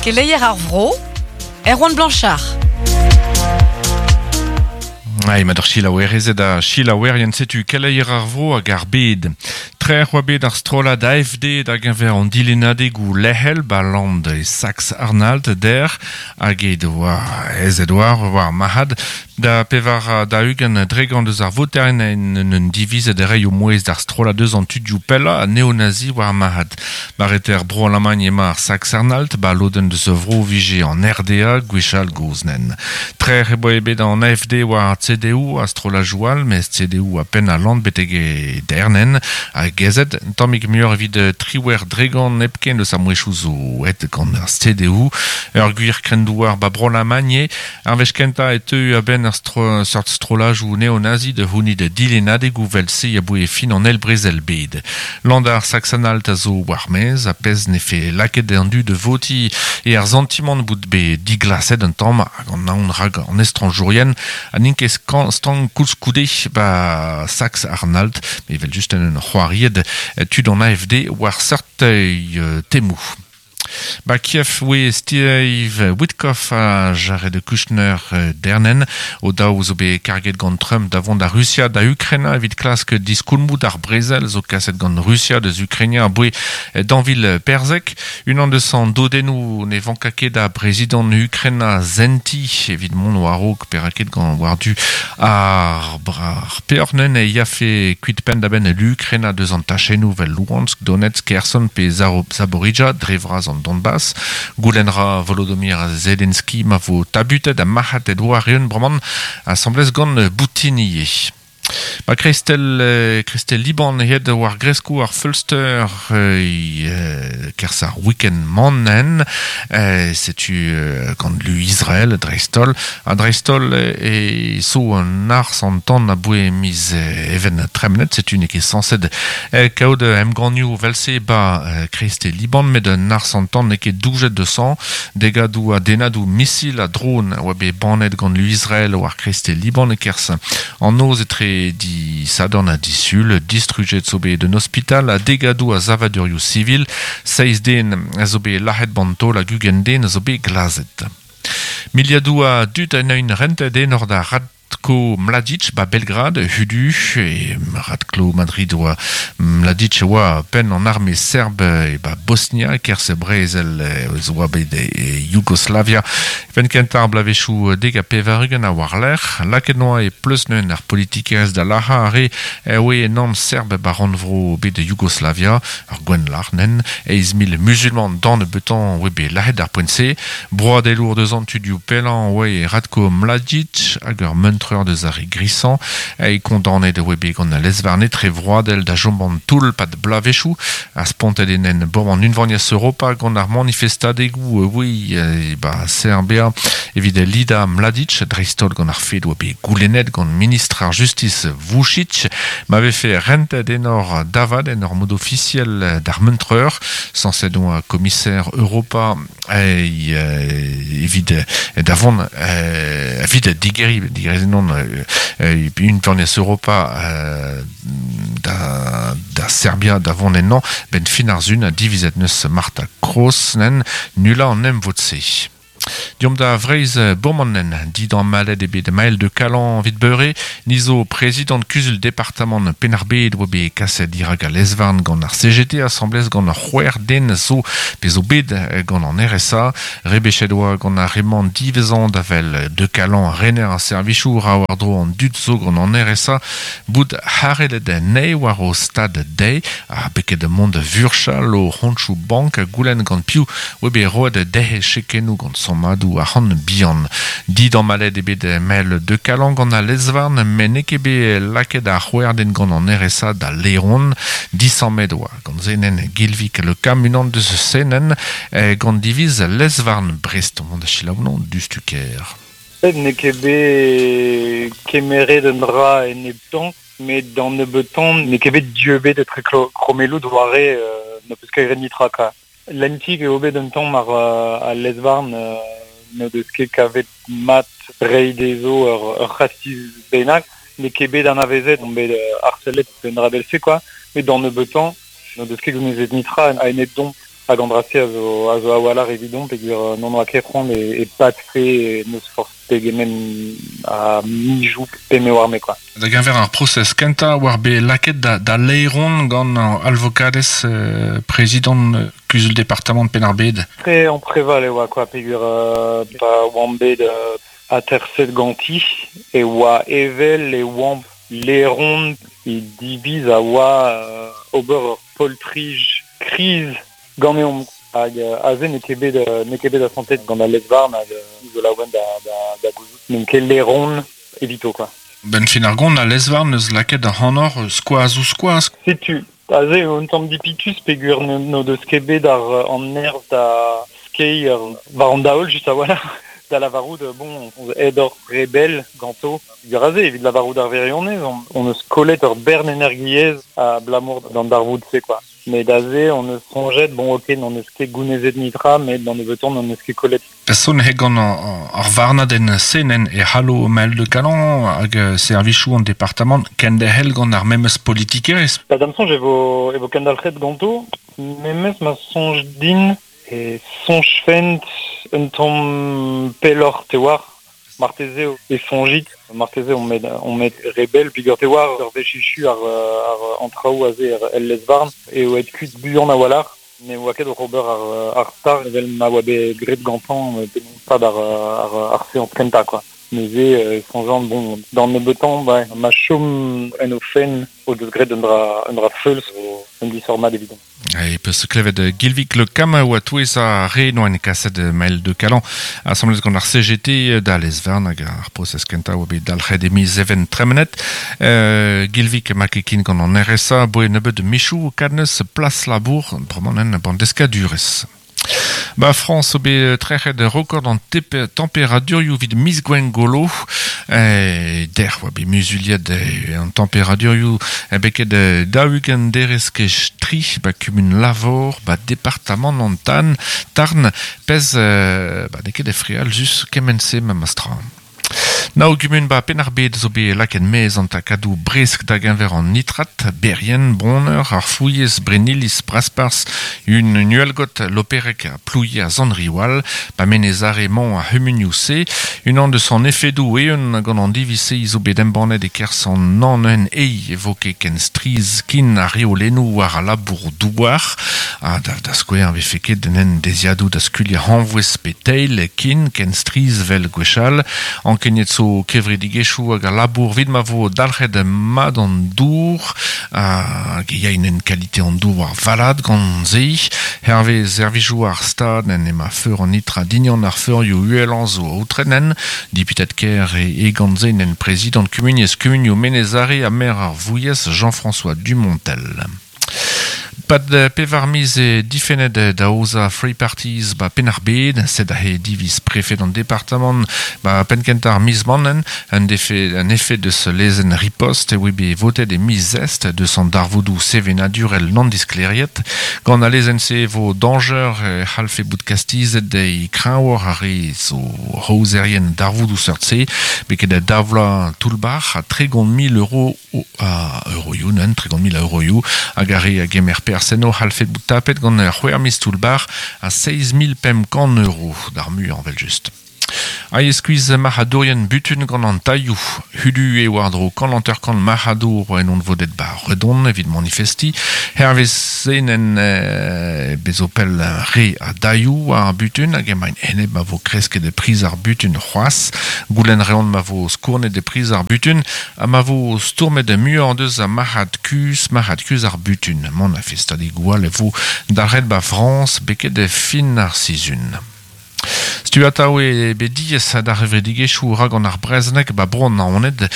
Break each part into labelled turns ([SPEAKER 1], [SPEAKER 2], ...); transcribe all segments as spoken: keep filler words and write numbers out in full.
[SPEAKER 1] Keleier ar vro, Erwan Blanchard.
[SPEAKER 2] Ai, ma d'ar chilaouerezed a chilaouerien setu keleier ar vro hag ar bed. Trec'h oa bet ar strollad A F D da geñver an dilennadegoù lec'hel ba land e Sax Arnald der hag e doa ez edoar war mahad da pevar da ugent dregant deus ar voterien en un divizet reiñ o mouezh d'ar strollad deus an tudioù pellañ a neonazi war mahad. Bareter bro Alamagn ema ar Sax Arnald ba lodenn deus vro vije an R D A gwechall goznen. Trec'h e boa bet an A F D war C D U a strollajoù all, mez C D U a penn a land betek e dernen hag gezet, tammig muioc'h evit triwec'h dregant hepken eus ar mouezhioù zo aet gant ar C D U. Ur gwir krendouar ba bro Alamagn eo, ar wech kentañ e teu a-benn ar stro-, seurt strollajoù neonazi de c'hounid dilennadegoù vel-se a boe fin an eil brezel bed. Land ar Sax-Anhalt a zo war maez, a pezh ne fe lakaet an dud de voti e ar santimant bout be diglaset un tamm hag an aon rag an estranjourien ha n'int ket skan-, stank koulskoude ba Sax-Arnald, me vel just un c'hoariet tud an A F D war seurt, euh, temou. Ba Kiev oe Steve Witkoff a Jared Kushner, euh, dernen o daou zo bet karget gant Trump da vont da Russia da Ukraina evit klask diskoulmoù d'ar brezel zo kaset gant Russia deus Ukraina a boe danvil Perzek. Unan deus an dodennoù ne vanka ket da prezident Ukraina zenti evit mont war-raok peraket gant war-du ar bra-, ar peoc'h-nen e yafe kuit penn da benn l'Ukraina deus an tachennoù vel Luhansk, Donetsk, Kherson pe Zaro-, Zaporizhzhia dre vras an Donbass. Goulenn ra Volodymyr Zelensky ma vo tabutet ha marc'had war eeun bremañ asambles gant Boutinier. Ba Christel, euh, Christel Liban het war gresko ar Fölster, euh, euh, kerzh ar week-end mannen, euh, setu, euh, gant lu Israël dreistol a dreistol e so an ars an tan a boe miz, euh, even tremnet, setu ne ket sañset, euh, kaout emgannioù velse ba, euh, Christel Liban met un ars an tan ne ket doujet de sang degadoù a denadoù missil a drone oa bet bannet gant lu Israël war Christel Liban e kerzh an noz etre di Sadorn a disul, distrujet zo bet d'un hospital a degadoù a zavadurioù civil, seizh den a zo bet lac'het bantol hag ugent den a zo bet glazet. Miliadoù a dud en un rentet enor da Ratko Mladic ba Belgrad, hudu, e Ratko Madrid oa Mladic oa penn an arme serb e ba Bosnia, kerzh brezel, e zo oa bet e Yougoslavia. Penn kentañ ar bloavezhioù dek ha pevar-ugent a war-lerc'h, lakaet noa e pleusneun ar politikerezh da lac'hañ ar re e oe enorm serb ba rannvro bet de Yougoslavia, ar gwenn-lac'h nen, eizh mil musulman dan betan oe bet lac'het ar poent-se, broadelour deus an tudioù pellañ oe Ratko Mladic hag ur meuntreur deus ar re grisañ, e kondanet oe bet gant al lezvarne tre vroadel da chom an toull pad bloavezhioù, a spontet enen bom an unvaniezh Europa gant ar manifestadegoù, oe, e, ba Serbia evit Lida Mladic, dreistholl gant ar fed oa bet goulennet gant ministr ar justice Vučić, ma vefe rentet enor davad en ur mod ofisiel d'ar meuntreur, sañset oa commissaire Europa e, euh, evit davon, euh, evit digeri, digeri non, euh, euh, unvaniezh Europa, euh, da, da Serbia davon ennañ, ben fin ar zun a divizet neus Marta Kroos nen nula an em votse. Diom da vreiz bomannen, dit an maled ebet mael de Calan vit beure, nizo prezident kuzul departement Penarbed oa bet kaset dirak a lezvarn gant ar C G T, asamblez gant ar c'hwec'h den zo pe zo bet gant an R S A, rebechet oa gant ar reman divezan da vel de Calan rener ar servichoù ra war dro an dud zo gant an R S A, bout harelet nei war o stad dei, a beket mont vurchal o c'honchoù bank a goulenn gant piv oa bet roet dezhe chekennoù gant sommadoù ar c'hant bihan. Dit an maled ebet mel de Calan gant al lezvarn, met n'eo ket bet lakaet ar c'hwec'h den gant an R S A da Leron, disammet oa gant zenen Gilvik le Cam unan deus senen, eh, gant diviz lezvarn Brest, mont da selaou non du stuker.
[SPEAKER 3] N'eo ket bet kemeret un dra en ebtan, met d'an nebeut-tamm n'eo ket bet dieubet etre klo-, kromelloù doare, euh, n'o peus ket graet nitra, kwa. Lentig eo bet un tamm ar, euh, al lezvarn, euh, n'o deus ket kavet mat reiñ dezho ur, ur c'hastiz bennak, n'eo ket bet anavezet, on bet, euh, harcelet un dra bel-se, quoi. Met d'an nebeut-tamm, n'o deus ket gounezet nitra a enep domp. Hag an drase a zo, a zo a-walc'h evidon peogwir non oa ket c'hoant e, e patfe n'eus forzh pegement a mijou pe me war me quoi.
[SPEAKER 2] Da geñver ar prosez kentañ war bet lakaet da, da laeron gant alvokadez euh, prezidant kuzul departamant Penn-ar-Bed.
[SPEAKER 3] Tre an preval e oa quoi peogwir euh, pa oan bet euh, aterset ganti e oa evel e oan laeron e diviz a oa euh, ober ur poltrij kriz ganeomp hag aze n'eo ket bet n'eo ket bet asantet gant al lez-varn hag zo laouen da, da, da gouzout n'eo ket laeron evito quoi.
[SPEAKER 2] Ben fin ar gont al lez-varn neus lakaet ar c'hanor skoaz ou skoaz.
[SPEAKER 3] Setu, aze un tamm dipitus peogwir n'o deus ket bet ar an nerzh da skeiñ war an daol just a-walc'h. Da lavarout, bon, aet ur rebel ganto. Peogwir aze, evit lavarout ar wirionez, on, on eus kollet ur bern energiezh abalamour d'an darvoud-se, quoi. Met aze, on eus soñjet, bon, ok, n'on eus ket gounezet nitra, met d'an nebeutañ n'on eus ket kollet.
[SPEAKER 2] Person he gant ar varnadenn senen e c'hallo Maël de Calan hag servijoù an departamant kenderc'hel gant ar memes politikerezh.
[SPEAKER 3] Ba da'm soñj e vo, e vo kendalc'het ganto, memes ma soñj din e soñjfent un tamm pelloc'h te war, marteze e soñjit, marteze on met, on met rebel peogwir te war ur wech echu ar, ar an traoù aze el lez-varn eo aet kuit buan a-walc'h, ne oa ket oc'h ober ar, ar star evel ma oa bet graet gantañ penaos pad ar, ar, ar seañs kentañ quoi. Neuze e soñjan, bon, d'an nebeutañ, ba, ma chom en o fenn o deus graet un dra, un dra feuls un disoc'h mat evidon.
[SPEAKER 2] E peus klevet Gilvik Le Cam oa touez a re noen kaset Maël de Calan asambles gant ar C G T da lez-varn hag ar prosez kentañ oa bet dalc'het e miz even tremenet. Euh, Gilvik ma kekin gant an R S A boe nebeut michou kadneus plas labour bremañ en bandeskadurez. Ba France o bet trec'het record an temperadurioù evit miz Gwengolo. Eh, der oa bet muzuliet an temperadurioù beket daou-ugent derez kej tri ba kumun Lavor ba departamant an Tan Tarn pez ba n'eo ket efreal just kement-se memes tra. Nao gumun ba Penn-ar-Bed zo bet lakaet maez an takadoù bresk da geñver an nitrat, Berrien, Boneur, ar Fouilhez, Brennilis, Brasparzh, un Nuelgot, Loperek, a Plouie a Zandriwal, ba Menez-Are mañ a c'humunioù-se, unan deus an efedoù eeun gant an diviz-se zo bet embannet e-kerzh an an un ei evoke ken striz kin ar reolennoù war a labour douar, ha da, da skouer vefe ket en deziadoù da skuliañ hañvouez pe teil kin ken striz vel gwechall, ankenet zo kevredigezhioù hag a labour vid ma vo dalc'het mat an dour hag e yain kalite an dour war valad gant se. Hervez servijoù ar stad en ema feur an nitra dignan ar feurioù uhelañ zo aotrenen, diputet ker e, e gant se en prezidant kumuniezh kumunioù Menez-Are ha maer ar Vouilhez Jean-François Dumontel. Pad pevar miz e difennet da oza Free Parties ba Penn-ar-Bed, sed ahe diviz prefet an departamant ba penn-kentañ ar miz mannen, un defe, un effet deus lezenn riposte e oa bet votet e miz est deus an darvoudoù sevenadurel non diskleriet. Gant al lezenn-se vo dañjer e c'hallfe bout kastizet e kreñvoc'h ar re zo rouzerien darvoudoù seurt-se, beket da davlañ toull-bac'h a tregont mil euro a euroioù, nen, tregont mil a euroioù, hag ar re a gemer perzh enno c'hallfe bout tapet gant c'hwec'h miz toull-bac'h a seizh mil pemp kant euro d'ar muiañ evel just. A eskuiz marc'hadourien butun gant an tailhoù. Hudu e war-dro kant hanter-kant marc'hadour en on vodet ba Redon evit manifesti. Hervez zenen e, bezo pell re a dailhoù ar butun hag emaint enep ma vo kresket e priz ar butun c'hoazh. Goulenn reont ma vo skournet e priz ar butun ha ma vo stourmet muioc'h deus a marc'had kuz, marc'had kuz ar butun. Manifestadegoù all e vo dalc'het ba Frañs beket e fin ar sizhun. Stu atav e bet diaes d'ar revredigezhioù rag an ar brezhoneg ba bro an Naoned,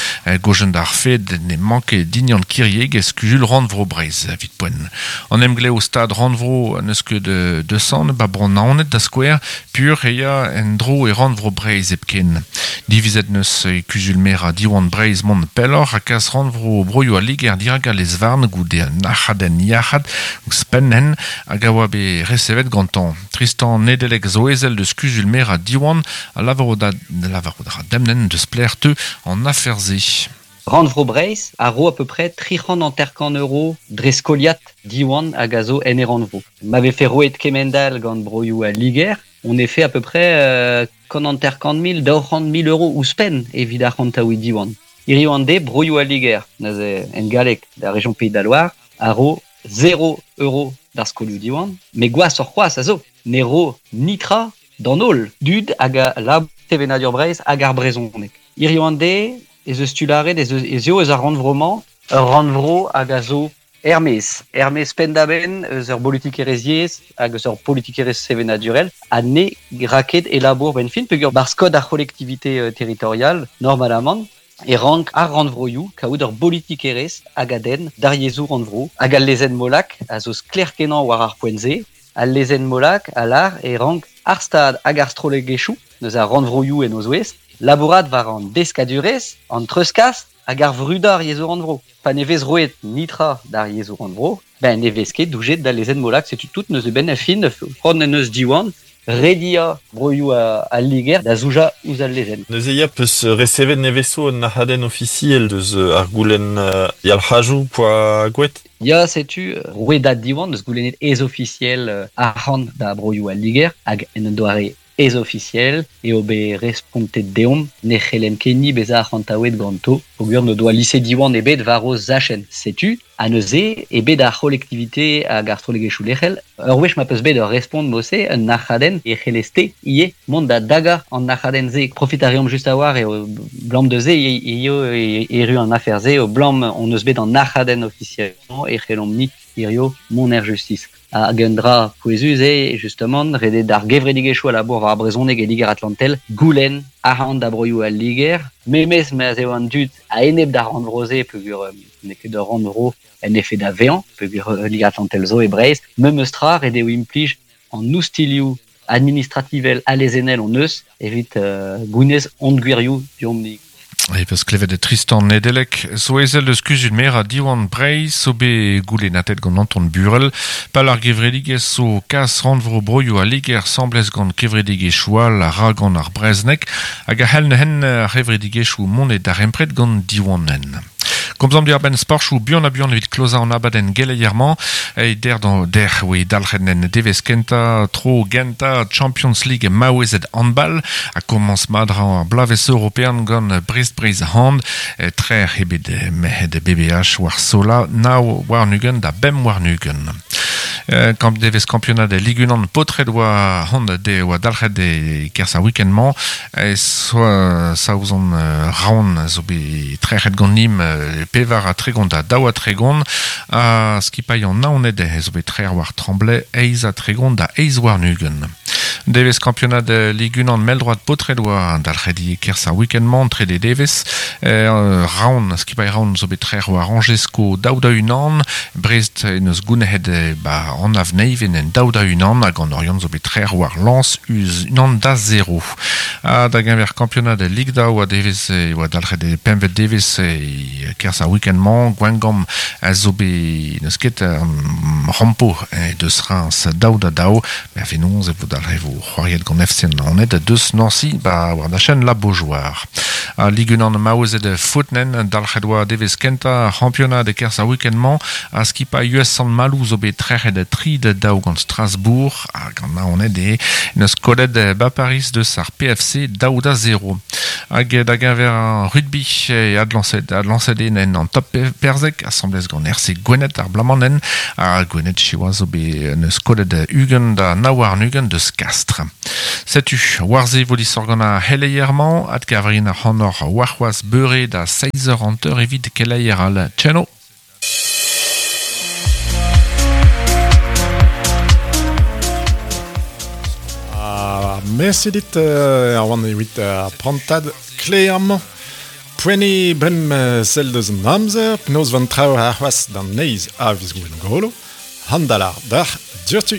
[SPEAKER 2] gojen d'ar fed ne manke dignan kirieg e skuzul rannvro Breizh evit poent. An emglev stad rannvro n'eus ket de, de san ba bro an Naoned da skouer pur e ya en dro e rannvro Breizh hepken. Divizet neus e kuzul merañ Diwan Breizh mont pelloc'h ha kas rannvro broioù al Liger dirak al lez-varn goude an arc'hadenn yac'had ouzhpenn hag a oa bet resevet gantañ. Tristan Nedeleg zo ezel deus kuzul merañ Diwan a lavaro da lavaro da demnen deus pler teu an afer-se.
[SPEAKER 4] Rannvro Breizh a ro à peu près tri c'hant hanter-kant euro dre skoliat Diwan hag a zo en e rannvro. Ma vefe roet kemend-all gant broioù al Liger, on e fait à peu près euh, kant hanter-kant mil, daou c'hant mil euro ouzhpenn evit arc'hantaouiñ Diwan. Hiziv an deiz, broioù al Liger, neuze en galleg da région Pays de la Loire, a ro zéro euro d'ar skolioù Diwan, met gwashoc'h c'hoazh a zo, ne ro nitra d'an holl dud hag a lab sevenadur Breizh hag ar brezhoneg. Hiziv an deiz, ez eus tu lâret, ez eus, ez eo eus ar rannvro-mañ, ur rannvro hag a zo er-maez, er-maez penn-da-benn eus ur bolitikerezh yezh hag eus ur politikerezh sevenadurel, ha ne gra ket e labour benn fin, peogwir barzh kod ar c'hollektivite euh, territorial, normalamant, e rank ar rannvroioù kaout ur bolitikerezh hag a denn d'ar yezhoù rannvro, hag al lezenn Molac a zo sklaer-kenañ war ar poent-se, al lezenn Molac a lâr e rank ar stad hag ar strollegezhioù, neus ar rannvroioù en o zouez, labourat war an deskadurezh, an treuzkas hag ar vrudañ ar yezhoù rannvro. Pa ne vez roet nitra d'ar yezhoù rannvro, ben ne vez ket doujet d'al lezenn Molac, setu tout neuze benn ar fin, c'hoant en deus Diwan, rediañ broioù al Liger da zoujañ ouzh al lezenn.
[SPEAKER 5] Neuze ya peus resevet nevezo un nac'hadenn ofisiel deus ar goulenn yalc'hajoù poa gouet?
[SPEAKER 4] Ya, setu rouedad Diwan deus goulennet ez ofisiel arc'hant da broioù al Liger hag en un doare ez ofisiel eo bet respontet deomp ne c'hellem ket ni bezañ arc'hantaouet ganto peogwir n'o doa lise Diwan ebet war o zachenn. Setu, ha neuze eo bet ar c'hollektivite hag ar strollegezhioù lec'hel, ur wech ma peus bet ur respont mod-se, un nac'hadenn e c'hellez-te ivez mont da dagañ an nac'hadenn-se. Profit a reomp just a-walc'h eo blam deus-se eo erru an afer-se, eo blam on eus bet an nac'hadenn ofisiel e c'hellomp-ni hirio mont er justice. Hag un dra pouezus eo, justement, ret eo d'ar gevredigezhioù a labour war ar brezhoneg e Liger Atlantel, goulenn arc'hant da broioù al Liger, memes ma'z eo an dud a-enep d'ar rannvro-se peogwir n'eo ket ur rannvro en efed da vezañ, peogwir Liger Atlantel zo e Breizh, memes tra ret eo implij an oustilhoù administrativel ha lezennel hon eus evit euh, gounez hon gwirioù deomp-ni.
[SPEAKER 2] E peus klevet Tristan Nedelec, zo ezel eus kuzul merañ Diwan Breizh, zo bet goulennatet gant Anton Burel, pal ar gevredigezh zo kas rannvro broioù al Liger asambles gant kevredigezhioù all a ra gant ar brezhoneg, hag a c'hell neuze ar c'hevredigezhioù mont e darempred gant Diwannen. Komzomp diwar-benn sporchoù buan ha buan evit klozañ an abadenn geleier-mañ, e der d'an der oe dalc'het en devezh kentañ tro gentañ Champions League maouezed handball a komañs mat ra ar bloavezh european gant Brest Breizh Hand, trec'h eo bet merc'hed B B H war Sola nav warn-ugent da bemp warn-ugent. Kamp devez kampionad Ligue unan paotred oa hand de oa dalc'het e kerzh ar week-end-mañ, e soa Saozon Raon zo bet trec'het gant Nîmes pevar ha tregont da daou ha tregont, ha skipailh an Naoned zo bet trec'h war Tremblay eizh ha tregont da eizh warn-ugent. Devez kampionad Ligue unan mell-droad paotred oa dalc'het e kerzh ar week-end-mañ trede devez, Raon, skipailh Raon zo bet trec'h war Angers-Sko daou da unan, Brest en eus gounezet ba an avneiven en daou da unan hag an Oriant zo bet trec'h war Lens uz unan da zero. Ha da geñver kampionad Ligue daou a devez oa dalc'het e pempvet devez e kerzh ar week-end-mañ, Gwengamp a zo bet n'eus ket rampo deus Reims daou da daou, met a-fenoz e vo dalc'het vo c'hoariet gant F C Naoned deus Nancy ba war da chaîne La Beaujoire. A Ligue unan maouezed footnen dalc'het oa devez kentañ c'hampionad e kerzh ar week-end-mañ a skipailh U S Sant-Maloù zo bet trec'het tri da daou gant Strasbourg hag an Naoned e n'eus kollet ba Paris deus ar P F C daou da zero. Hag da geñver ar rugby e adlañset, adlañset eo en an top perzek asambles gant R C Gwened ar blamanen ha Gwened siwazh zo bet n'eus kollet ugent da nav warn-ugent deus Castres. Setu, war-se vo disoc'h gant ar c'heleier-mañ, adkavrin ar c'hanor warc'hoazh beure da seizh eur hanter evit keleier all. Tcheno!
[SPEAKER 6] Ah, merci dit euh, Erwan evit ar prantad kleer-mañ. Poent eo brem sell deus an amzer, penaos van traoù ar c'hoazh d'an neizh a viz Gwengolo, handalar d'ar diouzhtu.